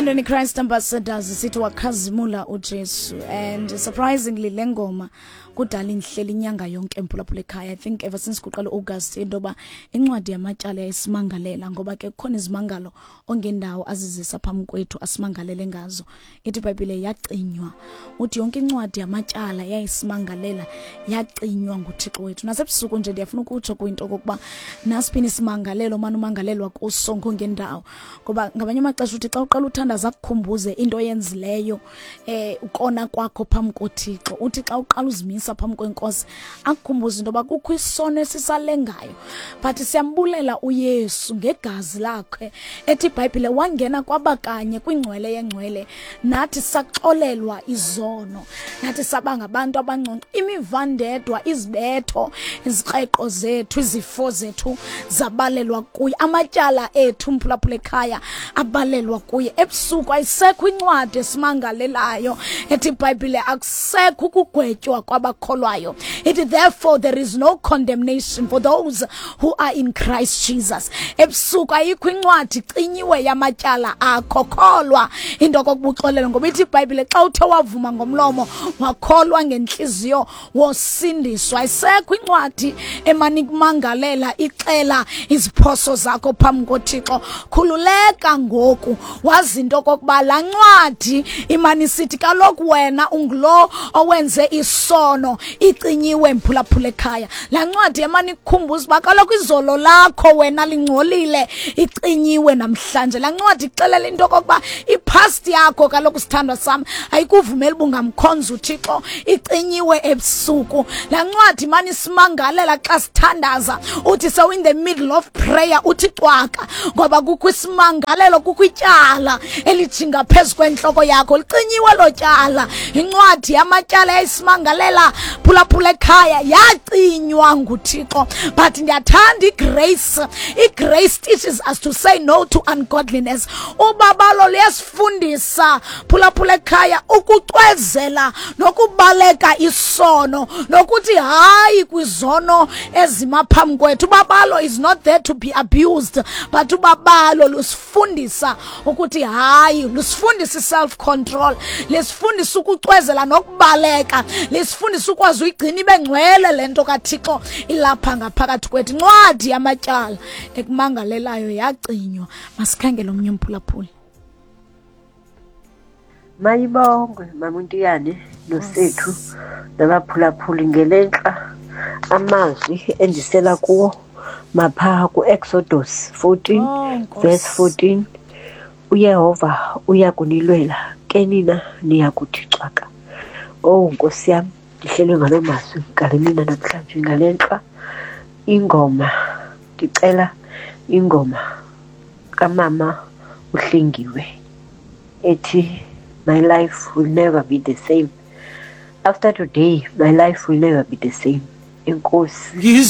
Othandweni Christ Ambassadors sithi wakhazimula uJesu, and surprisingly le ngoma kudala inhleli inyanga yonke, mphulaphula ekhaya. I think ever since kuqala August into yoba incwadi yamatyala yayisimangalela, ngoba ke kukhona izimangalo ongendawo azizisa phambi kwethu asimangalele ngazo. Ithi iBhayibhile yacinywa, uthi yonke incwadi yamatyala yayisimangalela yacinywa nguThixo wethu. Nasebusuku nje ndiyafuna ukutsho kwinto okokuba nasiphini isimangalelo mani umangalelwa kuso ngongendawo, ngoba ngamanye amaxesha uthi xa uqala uthandaza akukhumbuze into oyenzileyo, ukona kwakho phambi koThixo. Uthi xa uqala uzimisa phambi kwenkosi akukhumbuze into yoba kukho isono esisalengayo. But siyambulela uYesu ngegazi lakhe, ethi iBhayibhile wangena kwabakanye kwingcwele yengcwele, nathi saxolelwa izono, nathi saba ngabantu abangcono. Imivandedwa, izibetho, izikreqo zethu, izifo zethu zabalelwa kuye, amatyala ethu, mphulaphula ekhaya, abalelwa kuye. Ebusuku ayisekho incwadi esimangalelayo. Ethi iBhayibhile akusekho ukugwetywa kwabakholwayo. Ithi, "Therefore there is no condemnation for those who are in Christ Jesus." Ebusuku ayikho incwadi, icinyiwe yamatyala akho. Kholwa into okokuba uxolele, ngoba ithi iBhayibhile xa uthe wavuma ngomlomo wakholwa ngentliziyo wosindiswa. Ayisekho incwadi emane ikumangalela ixela iziphoso zakho phambi koThixo. Khululeka ngoku, wazi into okokuba laa ncwadi imane isithi kaloku wena ungulo owenze isono icinyiwe, mphulaphula ekhaya. Laa ncwadi emane ikukhumbuza uba kaloku izolo lakho wena lingcolile icinyiwe namhlanje. Laa ncwadi ixelela into okokuba ipast yakho kaloku, sithandwa sam, ayikuvumeli uba ungamkhonza uThixo, icinyiwe ebusuku. Laa ncwadi imane isimangalela xa sithandaza, uthi so in the middle of prayer uthi cwaka, ngoba kukho isimangalelo, kukho ityala elijinga phezu kwentloko yakho. Licinyiwe lo tyala. Incwadi yamatyala yayisimangalela, phulaphula ekhaya, yacinywa nguThixo. But ndiyathanda igrace. Igrace teaches us to say no to ungodliness. Ubabalo luyasifundisa, phulaphula ekhaya, ukucwezela nokubaleka isono nokuthi hayi kwizono ezima phambi kwethu. Ubabalo is not there to be abused, but ubabalo lusifundisa ukuthi hayi, lusifundisa i-self control, lisifundisa ukucwezela nokubaleka, lisifundisa ukwazi uyigcina ibe ngcwele le nto kaThixo ilapha ngaphakathi kwethu. Incwadi yamatyala ekumangalelayo yacinywa. Masikhangele omnye umphulaphuli. Mayibongwe Mamuntiyane noSethu nabaphulaphuli ngelentla. Amazwi endisela kuwo mapha kuExodus 14 Oh, Nkosi. verse 14: "UYehova uya kunilwela, ke nina niya kuthi cwaka." Oh Nkosi yam, ndihlelwe ngaloo mazwi ngale mina namhlanje ngalentla. Ingoma, ndicela ingoma kamama uHlengiwe ethi "My life will never be the same. After today my life will never be the same." Enkosi. Ngizwi.